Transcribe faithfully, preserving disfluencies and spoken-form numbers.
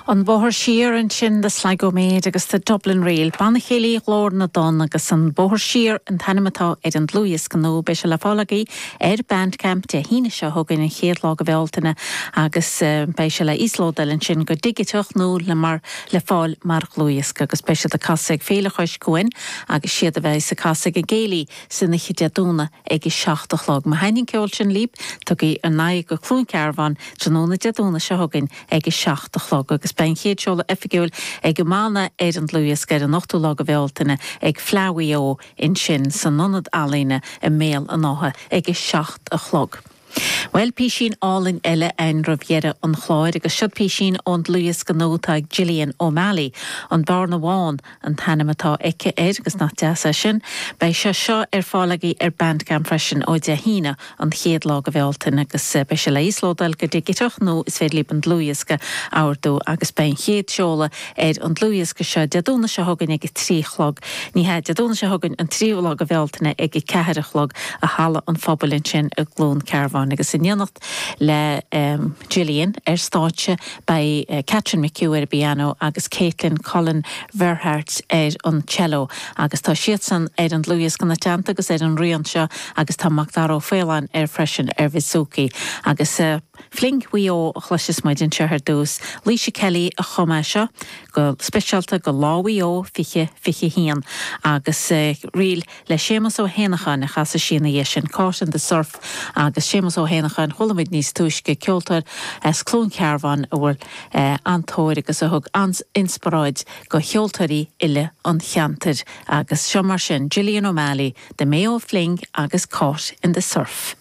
An Bóthar Siar ansin The Sligo Maid agus the Dublin Reel, Banna Céilí Ghlór na dTonn agus an Bóthar Siar an t-ainm atá ar an dlúthdhiosca nua beidh sé le fáil agaibh ar Bandcamp Dé hAoine seo chugainn an chéad lá de Bhealtaine agus uh, beidh sé le íoslódáil ansin go digiteach nó le mar le fáil mar dhlúthdhiosca agus beidh siad ag casadh ag Féile Chois Cuain agus siad a bheidh ag casadh ag an gcéilí san oíche Dé Domhnaigh ag a seacht a chlog. Má thaitníonn an ceol sin libh tugaigí bhur n-aghaidh go Cluain Cearbán tráthnóna Dé Domhnaigh seo chugainn ag a seacht a chlog agus beidh an chéad seoladh oifigiúil ag an mbanna ar an dlúthdhiosca ar an ochtú lá de Bhealtaine ag Fleadh Mhaigh Eo ansin san ionad ealaíne i mBéal an Átha ag a seacht a chlog. Well písín álainn eile ann roimh dheireadh an chláir agus seo písín ón dlúthdhiosca nua atá ag Gillian O'Malley an Bearna Bhán an t-ainm atá aici air agus nach deas é sin, Beidh sé seo ar fáil agaibh ar Bandcamp freisin ó Dé hAoine an chéad lá de Bhealtaine agus eh, beidh sé le íoslódáil go digiteach nó is féidir libh an dlúthdhiosca a ordú agus beidh an chéad seoladh ar an dlúthdhiosca seo Dé Domhnaigh seo chugainn ag trí a chlog. Ní hea Dé Domhnaigh seo chugainn an tríú lá de Bhealtaine ag a ceathair a chlog i Halla an Phobail ansin i gCluain Cearbán agus in éineacht le um, Gillian ar stáitse beidh uh, Catherine McHugh ar piano agus Caitlin Cullen Verhart ar an cello agus tá siadsan ar an dlúthdhiosca ina dteannta agus ar an rian seo agus tá Macdara Ó Faoláin ar freisin ar bouzouki agus uh, Fling Mhaigh Eo a chloisfidh muid anseo ar dtús. Laoise Kelly a chum é seo go speisialta go Lá Mhaigh Eo fiche fiche haon agus uh, ríl le Séamus Ó hÉanacháin a chas sí ina dhiaidh sin Caught in the Surf agus Séamus Ó hÉanacháin chuala muid níos túisce ceoltóir as Cluain Cearbán a bhfuil uh, an-tóir agus a thug an-inspioráid go cheoltóirí uile an cheantair agus seo mar sin Gillian O'Malley, The Mayo Fling agus Caught in the Surf.